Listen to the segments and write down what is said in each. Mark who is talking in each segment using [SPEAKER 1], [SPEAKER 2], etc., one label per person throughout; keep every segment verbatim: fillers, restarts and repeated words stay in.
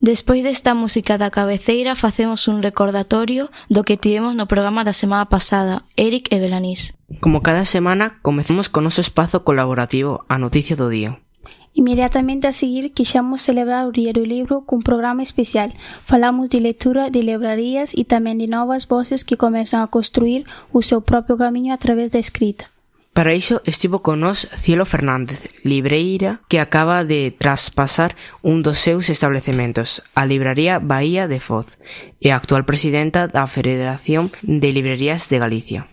[SPEAKER 1] Despois desta música da cabeceira facemos un recordatorio do que tivemos no programa da semana pasada, Eric e Belanís.
[SPEAKER 2] Como cada semana, comezamos con noso espazo colaborativo, a noticia do día.
[SPEAKER 3] Inmediatamente a seguir, quixamos celebrar o Día do Libro cun programa especial. Falamos de lectura de librarías e tamén de novas voces que comezan a construir o seu propio camiño a través da escrita.
[SPEAKER 2] Para iso estivo con nós Cielo Fernández, libreira que acaba de traspasar un dos seus establecementos, a libraría Bahía de Foz, e a actual presidenta da Federación de Librerías de Galicia.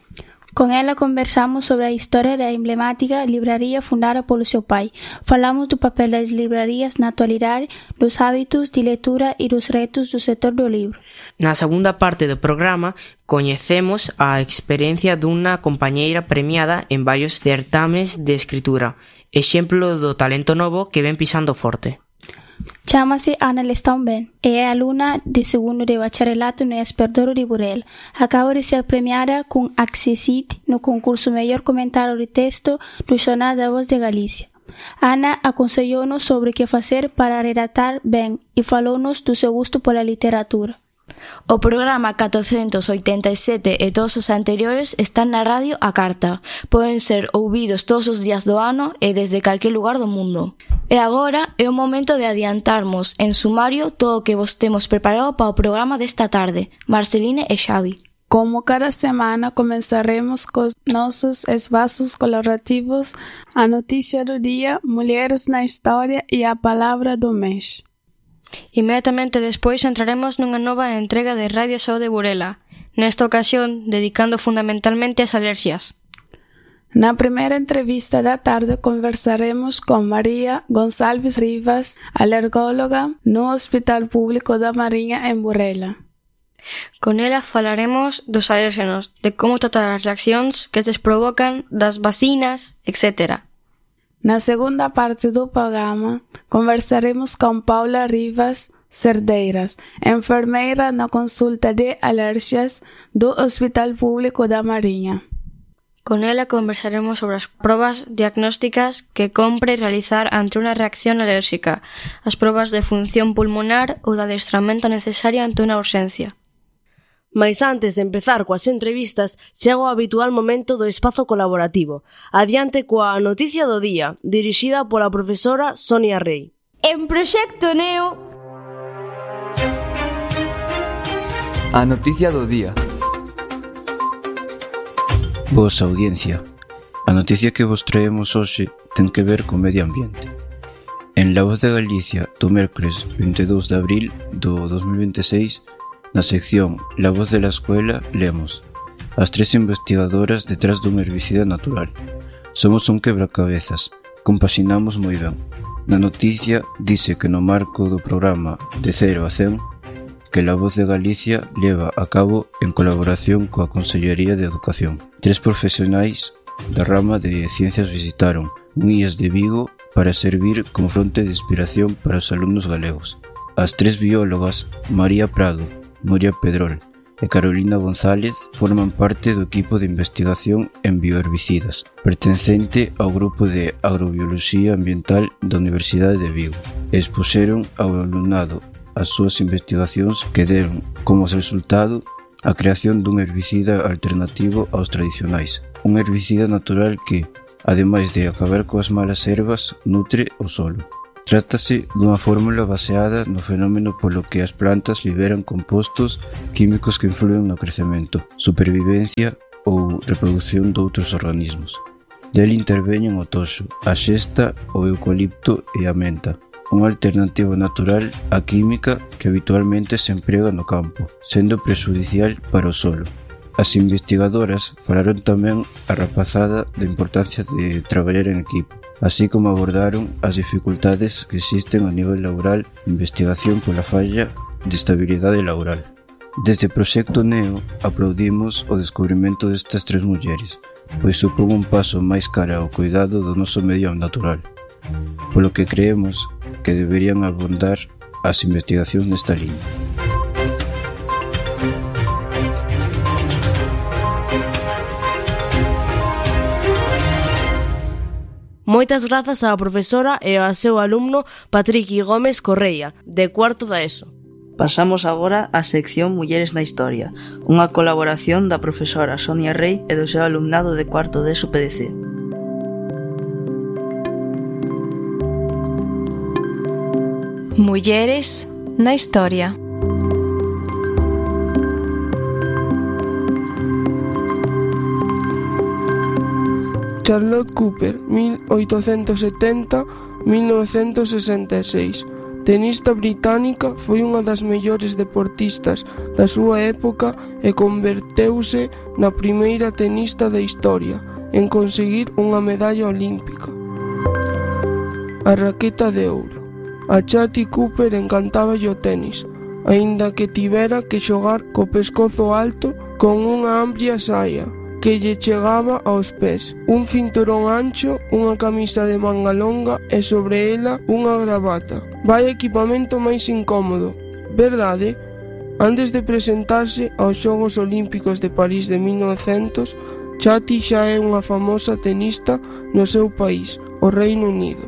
[SPEAKER 3] Con ela conversamos sobre a historia da emblemática libraría fundada polo seu pai. Falamos do papel das librarías na actualidade, dos hábitos de lectura e dos retos do sector do libro.
[SPEAKER 2] Na segunda parte do programa, coñecemos a experiencia dunha compañeira premiada en varios certames de escritura, exemplo do talento novo que ven pisando forte.
[SPEAKER 3] Chámase Ana Lestón Ben e é alumna de segundo de bacharelato no Esperdouro de Burela. Acaba de ser premiada con Accessit no concurso Mellor Comentario de Texto do Xornal da Voz de Galicia. Ana aconsellounos sobre que facer para redactar ben e falounos do seu gusto pola literatura.
[SPEAKER 1] O programa catrocentos oitenta e sete e todos os anteriores están na radio á carta. Poden ser ouvidos todos os días do ano e desde calquer lugar do mundo. E agora é o momento de adiantarmos en sumario todo o que vos temos preparado para o programa desta tarde. Marceline e Xavi.
[SPEAKER 4] Como cada semana, comenzaremos cos nosos espaços colaborativos, a noticia do día, Mulheres na Historia e a Palavra do Mês.
[SPEAKER 5] Inmediatamente despois entraremos nunha nova entrega de Radio Saúde Burela, nesta ocasión dedicando fundamentalmente ás alerxias.
[SPEAKER 4] Na primeira entrevista da tarde conversaremos con María Gonçalves Rivas, alergóloga no Hospital Público da Mariña en Burela.
[SPEAKER 5] Con ela falaremos dos alérxenos, de como tratar as reaccións que estes provocan, das vacinas, etcétera.
[SPEAKER 4] Na segunda parte do programa, conversaremos con Paula Rivas Cerdeiras, enfermeira na consulta de alerxias do Hospital Público da Mariña.
[SPEAKER 5] Con ela conversaremos sobre as probas diagnósticas que compre realizar ante unha reacción alérxica, as probas de función pulmonar ou de adestramento necesario ante unha urxencia.
[SPEAKER 6] Mais antes de empezar coas entrevistas, chega o habitual momento do espazo colaborativo. Adiante coa noticia do día, dirixida pola profesora Sonia Rey.
[SPEAKER 7] En Proxecto Neo...
[SPEAKER 8] A noticia do día.
[SPEAKER 9] Vosa audiencia, a noticia que vos traemos hoxe ten que ver co medio ambiente. En La Voz de Galicia, do mércores vinte e dous de abril do dos mil vinte e seis, na sección La Voz de la Escuela, lemos as tres investigadoras detrás dun herbicida natural. Somos un quebracabezas, compaxinamos moi ben. Na noticia dice que no marco do programa De Cero a Cen, que La Voz de Galicia leva a cabo en colaboración coa Consellería de Educación. Tres profesionais da rama de ciencias visitaron un I E S de Vigo para servir como fronte de inspiración para os alumnos galegos. As tres biólogas, María Prado, Nuria Pedrol e Carolina González, forman parte do equipo de investigación en bioherbicidas, pertencente ao grupo de agrobioloxía ambiental da Universidade de Vigo, e expuxeron ao alumnado as súas investigacións que deron como resultado a creación dun herbicida alternativo aos tradicionais, un herbicida natural que, ademais de acabar coas malas ervas, nutre o solo. Trátase dunha fórmula baseada no fenómeno polo que as plantas liberan compostos químicos que influen no crecemento, supervivencia ou reproducción doutros organismos. Del interveñen o toxo, a xesta, o eucalipto e a menta, unha alternativa natural á química que habitualmente se emprega no campo, sendo prexudicial para o solo. As investigadoras falaron tamén a rapazada da importancia de traballar en equipo, así como abordaron as dificultades que existen a nivel laboral de investigación pola falla de estabilidade laboral. Desde Proxecto Neo aplaudimos o descubrimento destas tres mulleres, pois supón un paso máis cara ao cuidado do noso medio natural, polo que creemos que deberían abondar as investigacións nesta liña.
[SPEAKER 6] Moitas grazas á profesora e ao seu alumno Patriqui Gómez Correia, de cuarto da ESO.
[SPEAKER 10] Pasamos agora á sección Mulleres na Historia, unha colaboración da profesora Sonia Rey e do seu alumnado de cuarto de ESO P D C.
[SPEAKER 11] Mulleres na Historia.
[SPEAKER 12] Charlotte Cooper, mil oitocentos setenta a mil novecentos sesenta e seis. Tenista británica, foi unha das mellores deportistas da súa época e converteuse na primeira tenista da historia en conseguir unha medalla olímpica. A raqueta de ouro. A Chatty Cooper encantáballe o tenis, aínda que tivera que xogar co pescozo alto con unha amplia saia que lle chegaba aos pés, un cinturón ancho, unha camisa de manga longa e sobre ela unha gravata. Vai equipamento máis incómodo, verdade? Antes de presentarse aos Xogos Olímpicos de París de mil novecentos, Chatty xa é unha famosa tenista no seu país, o Reino Unido.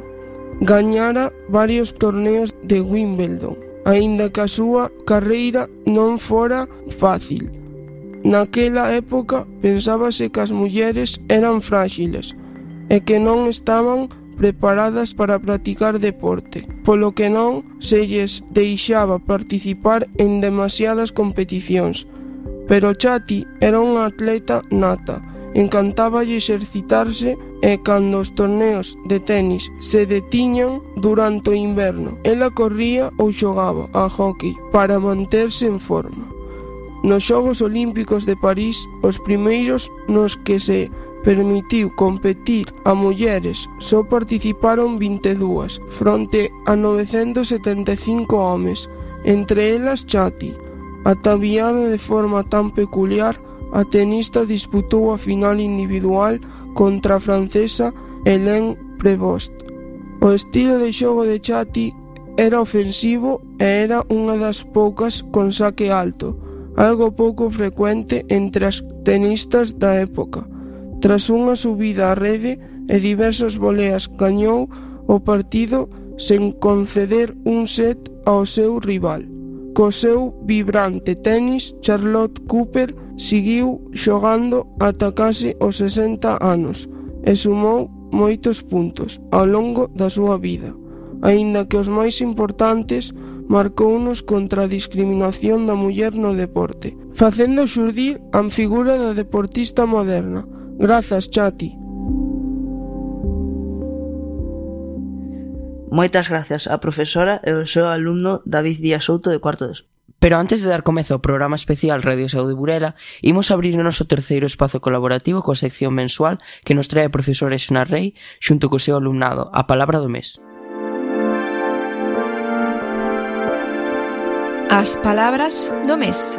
[SPEAKER 12] Gañara varios torneos de Wimbledon, aínda que a súa carreira non fora fácil. Naquela época pensábase que as mulleres eran fráxiles e que non estaban preparadas para practicar deporte, polo que non se lles deixaba participar en demasiadas competicións. Pero Chatty era unha atleta nata, encantáballe exercitarse e cando os torneos de tenis se detiñan durante o inverno, ela corría ou xogaba a hockey para manterse en forma. Nos Xogos Olímpicos de París, os primeiros nos que se permitiu competir a mulleres só participaron vinte e dúas, fronte a novecentos setenta e cinco homes, entre elas Chatty. Ataviada de forma tan peculiar, a tenista disputou a final individual contra a francesa Hélène Prévost. O estilo de xogo de Chatty era ofensivo e era unha das poucas con saque alto, algo pouco frecuente entre as tenistas da época. Tras unha subida á rede e diversas voleas, gañou o partido sen conceder un set ao seu rival. Co seu vibrante tenis, Charlotte Cooper seguiu xogando ata case os sesenta anos e sumou moitos puntos ao longo da súa vida, aínda que os máis importantes marcounos contra a discriminación da muller no deporte, facendo xurdir a figura da deportista moderna. Grazas, Chatty.
[SPEAKER 10] Moitas gracias á profesora e ao seu alumno David Díaz Souto de cuarto de ESO.
[SPEAKER 2] Pero antes de dar comezo ao programa especial Radio Saúde Burela, imos abrir o noso terceiro espazo colaborativo coa sección mensual que nos trae a profesora Sonia Rey xunto co seu alumnado, a palabra do mes.
[SPEAKER 11] As palabras do mes.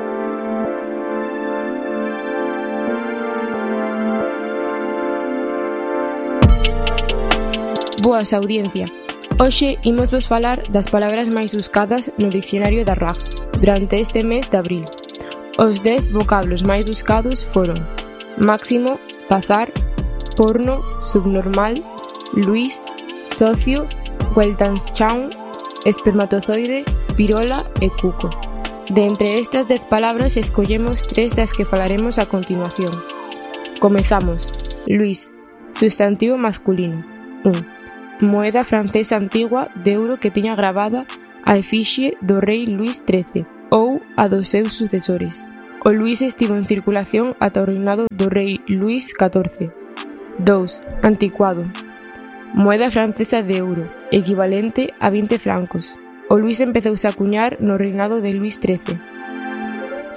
[SPEAKER 13] Boas, audiencia. Hoxe imos vos falar das palabras máis buscadas no dicionario da R A G durante este mes de abril. Os dez vocablos máis buscados foron máximo, bazar, porno, subnormal, Luís, socio, Weltanschauung, espermatozoide, pirola e cuco. De entre estas dez palabras escollemos tres das que falaremos a continuación. Comezamos. Luís, sustantivo masculino. un. Moeda francesa antigua de euro que tiña gravada a efigie do rei Luís trece ou a dos seus sucesores. O Luís estivo en circulación ata o reinado do rei Luís catorce. dous. Anticuado. Moeda francesa de euro, equivalente a vinte francos. O Luís empezouse a acuñar no reinado de Luís trece.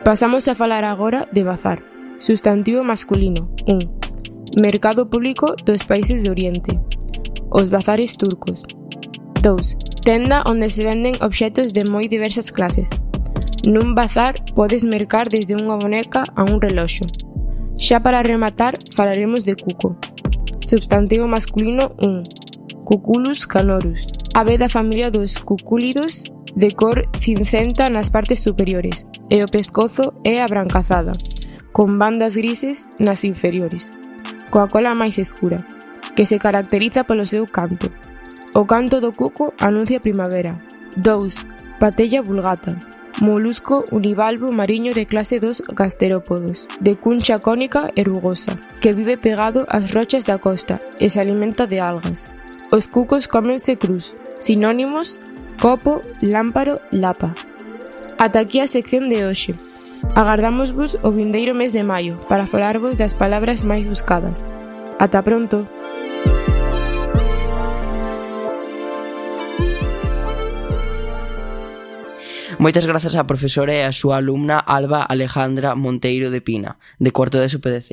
[SPEAKER 13] Pasamos a falar agora de bazar. Sustantivo masculino. un. Mercado público dos países de Oriente. Os bazares turcos. dous. Tenda onde se venden obxetos de moi diversas clases. Nun bazar podes mercar desde unha boneca a un reloxo. Xa para rematar falaremos de cuco. Substantivo masculino un. Cuculus canorus. Ave da familia dos cucúlidos, de cor cincenta nas partes superiores, e o pescozo é abrancazada, con bandas grises nas inferiores, coa cola máis escura. que se caracteriza polo seu canto. O canto do cuco anuncia primavera. dous. Patella vulgata, molusco univalvo mariño de clase dos gasterópodos, de cuncha cónica e rugosa, que vive pegado ás rochas da costa e se alimenta de algas. Os cucos cómense cruz, sinónimos: copo, lámparo, lapa. Ata aquí a sección de hoxe. Agardámosvos o vindeiro mes de maio para falarvos das palabras máis buscadas. Ata pronto!
[SPEAKER 2] Moitas grazas á profesora e á súa alumna Alba Alejandra Monteiro de Pina, de cuarto de S P D C.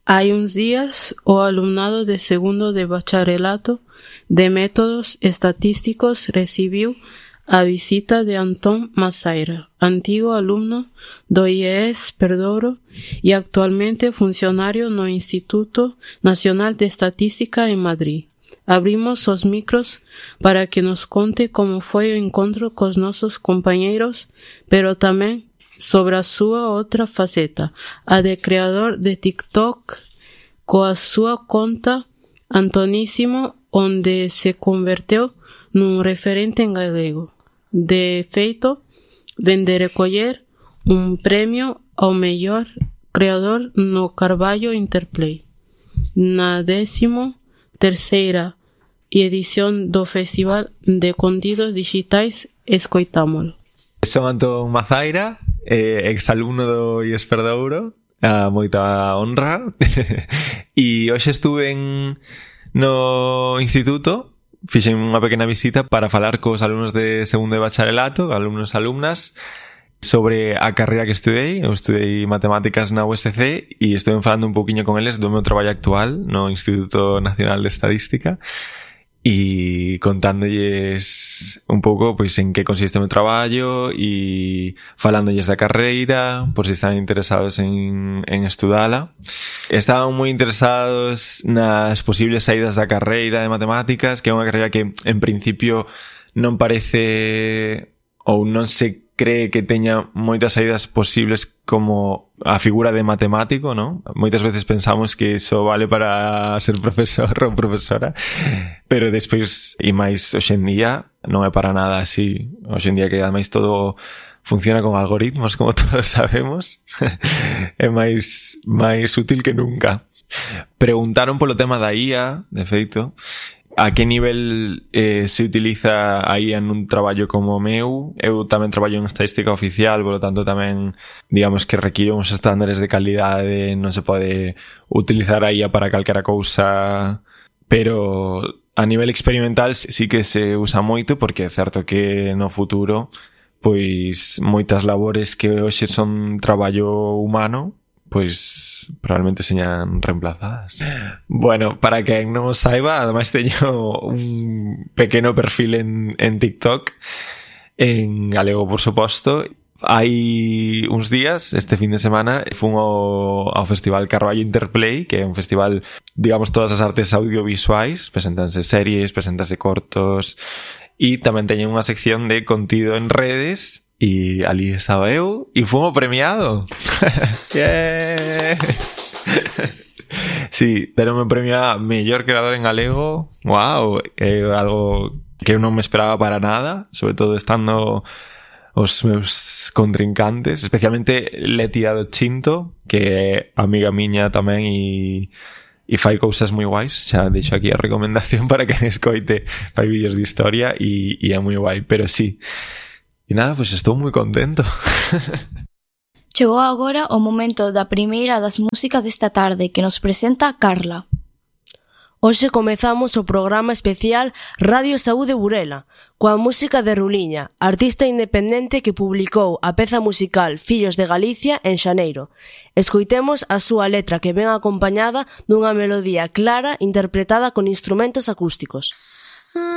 [SPEAKER 14] Hai uns días, o alumnado de segundo de bacharelato de métodos estatísticos recibiu a visita de Antón Masaira, antigo alumno do I E S Perdouro e actualmente funcionario no Instituto Nacional de Estatística en Madrid. Abrimos os micros para que nos conte como foi o encontro cos nosos compañeiros, pero tamén sobre a súa outra faceta, a de creador de TikTok, coa súa conta Antonísimo, onde se converteu nun referente en galego. De feito, ven de recoller un premio ao mellor creador no Carballo Interplay, na décimo terceira e edición do Festival de Contidos Digitais Escoitámolo.
[SPEAKER 15] Son Antón Mazaira, eh, exalumno do I E S Perdouro, a moita honra, e hoxe estuve en, no instituto, fixen unha pequena visita para falar cos alumnos de segundo de bacharelato, alumnos e alumnas, sobre a carreira que estudei. Eu estudei matemáticas na U S C e estuve falando un pouquiño con eles do meu traballo actual no Instituto Nacional de Estadística e contándolles un pouco pois en que consiste o meu traballo e falándolles da carreira por se si están interesados en, en estudala. Estaban moi interesados nas posibles saídas da carreira de matemáticas, que é unha carreira que en principio non parece ou non se cree que teña moitas saídas posibles como a figura de matemático, ¿no? Moitas veces pensamos que iso vale para ser profesor ou profesora, pero despois, e máis hoxe en día, non é para nada así. Hoxe en día que ademais todo funciona con algoritmos, como todos sabemos, é máis máis útil que nunca. Preguntaron polo tema da I A, de feito, a que nivel eh, se utiliza a I A nun traballo como o meu. Eu tamén traballo en estadística oficial, por lo tanto tamén digamos que require uns estándares de calidade, non se pode utilizar a I A para calquera cousa, pero a nivel experimental sí que se usa moito, porque é certo que no futuro pois moitas labores que hoxe son traballo humano pois probablemente señan reemplazadas. Bueno, para quen non o saiba, ademais teño un pequeno perfil en, en TikTok, en galego, por suposto. Hai uns días, este fin de semana, fun ao, ao Festival Carballo Interplay, que é un festival, digamos, todas as artes audiovisuais, presentanse series, presentanse cortos, e tamén teñen unha sección de contido en redes. E ali estaba eu e fun o premiado. Yeah. Sí, deronme o premio a mellor creador en galego. Wow, é algo que eu non me esperaba para nada, sobre todo estando os meus contrincantes, especialmente Leti do Chinto, que é amiga miña tamén e e fai cousas moi guais. Xa deixo aquí a recomendación para que escoite, fai vídeos de historia e, e é moi guai, pero sí. E nada, pois estou moi contento.
[SPEAKER 1] Chegou agora o momento da primeira das músicas desta tarde, que nos presenta Carla.
[SPEAKER 6] Hoxe comezamos o programa especial Radio Saúde Burela, coa música de Ruliña, artista independente que publicou a peza musical Fillos de Galicia en xaneiro. Escoitemos a súa letra, que ven acompañada dunha melodía clara interpretada con instrumentos acústicos.